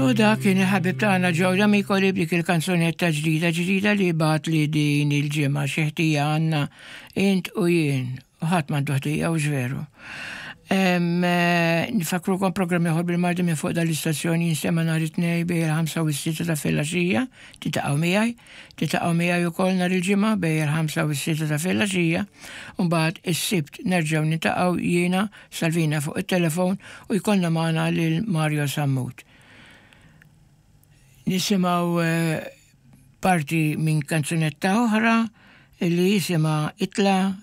U dak kien il-ħabib tagħna Joe D'Amico li b'dik il-kanzunetta ġdida ġdida li bagħat li din il-ġimgħa xi ħtija għandna int u jien. U ħadd m'għandu ħtija u veru. Nfakrukom programm ieħor bil-Malti minn fuq dal-istazzjon jinstema' nhar it-Tnejn bejn il-5 u s-6 ta' filgħaxija, titaqgħu miegħi, titaqgħu miegħi wkoll nhar il-Ġimgħa bejn il-5 u s-6 ta' filgħaxija, u mbagħad is-Sibt nerġgħu nintaqgħu jiena Salvina fuq it-telefon u jkollna magħna lil Mario Sammut. Nisimgħu eh, parti minn kanzunetta oħra li jisimha Itla.